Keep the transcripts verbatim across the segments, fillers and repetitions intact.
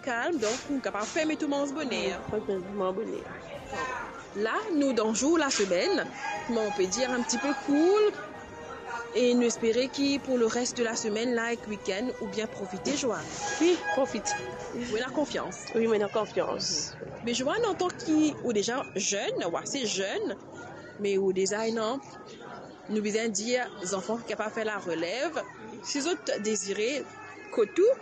kalm, donk ou kapav ferme tou manz boner. Wi, ferme tou manz boner. La, nou dan zour lasemenn, kouma on pe dir, un petit peu cool, e nou espere ki pou le reste de la semaine la ek week-end, ou bien profite, Joanne. Wi, profite. Ou ena konfians. Wi, mo ena konfians. Me Joanne, antan ki ou deza zenn, ou ase zenn, me ou deza ena, nou bizin dir, zanfan ki kapav fer larelev, si zot dezire kot ou,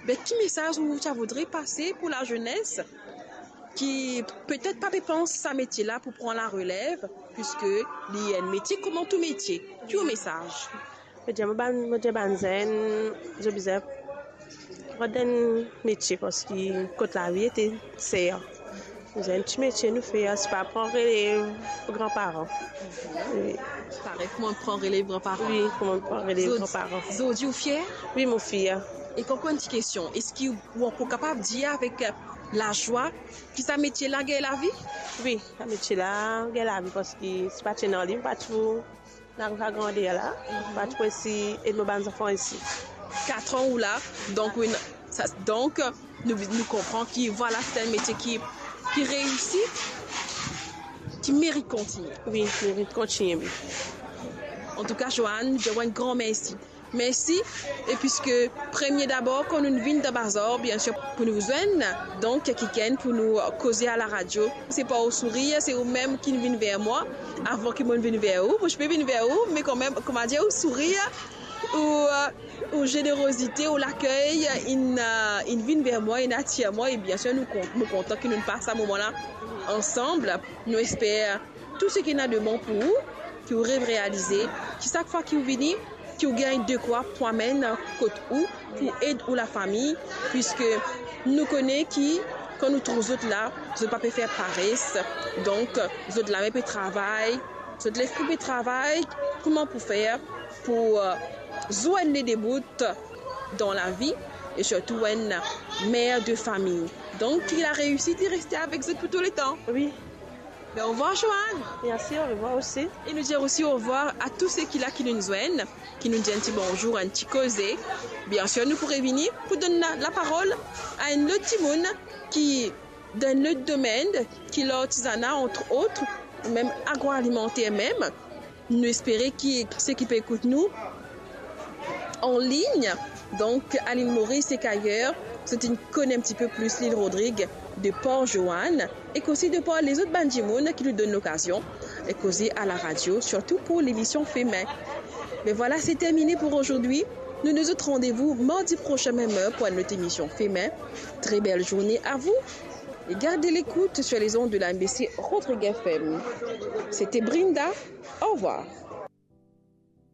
be ki mesaz ou ti a voudre pase pou lazenes ki petet pa pe pans sa metie la pou pran larelev, piske li enn metie kouma tou metie? Ki ou mesaz? Mo dir, mo bann, mo dir bann zenn, zot bizin rod enn metie, parski kot lavi ete ser. Bizin enn ti metie nou fer, se pa pran relev granparan. Wi. Parey kouma pran relev granparan. Wi, kouma pran relev granparan. Zot, zot dir ou fier? Wi, mo fier. E ankor enn ti kestion, eski ou ankor kapav dir avek, euh, lazwa ki sa metie la gagn lavi? Wi, sa metie la gagn lavi, parski si pa ti ena li, mo pa ti pou ariv a grander la, mo pa ti pou esi ed mo bann zanfan isi. Kat an ou la, donk, wi, sa, donk, nou, nou konpran ki, vwala, se enn metie ki, ki reisi, ki merit kontigne. Wi, merit kontigne, wi. Antouka, Joanne, nou dir ou enn gran mersi. Mersi. E piske premie dabor, kan nou vinn dan bazar, biensir, pou nou zwenn, donk, kikenn pou nou koze a laradio. Se par ou sourir, se ou mem ki vinn ver mwa, avan ki mo vinn ver ou. Mo ti pe vinn ver ou, me kanmem, koumadir, ou sourir, ou, euh, ou zenerozite, ou lakey, inn, euh, inn vinn ver mwa, inn atir mwa, e biensir, nou kon-, mo kontan ki nou pas sa moman la ansam. Nou esper tou seki ena de bon pou ou, ki ou rev realize, ki sak fwa ki ou vini, ki ou gagn dekwa pou amenn kot ou, pou ed ou lafami, piske nou kone ki, kan nou trouv zot la, zot pa pe fer pares, donk, zot lame pe travay, zot lespri pe travay, kouma pou fer pou, euh, zwenn le de bout dan lavi, e sirtou enn mer de fami. Donk, ki lareisi, li reste avek zot pou tou letan. Wi. Ben, orevwar, Joanne. Mersi, orevwar osi. E nou dir osi orevwar a tou seki la ki nou zwenn, ki nou dir enn ti bonzour, enn ti koze. Biensir, nou pou revini pou donn la, laparol a enn lot dimoun ki dan enn lot domenn, ki lartizana, entre autres, ou mem agroalimenter mem. Nou espere ki seki pe ekout nou an lign, donk a Lil Moris ek ayer, zot inn kone enn ti pe plis Lil Rodrig de par Joanne, ek osi de par lezot bann dimoun ki nou donn lokazion koze a laradio, sirtou pou lemision Femin. Me vwala, se termine pou azordi. Nou donn zot randevou mardi prosin, mem er, pou enn lot emision Femin. Très belle journée à vous et gardez l'écoute sur les ondes de la M B C Rodrigues F M. C'était Brinda. Au revoir.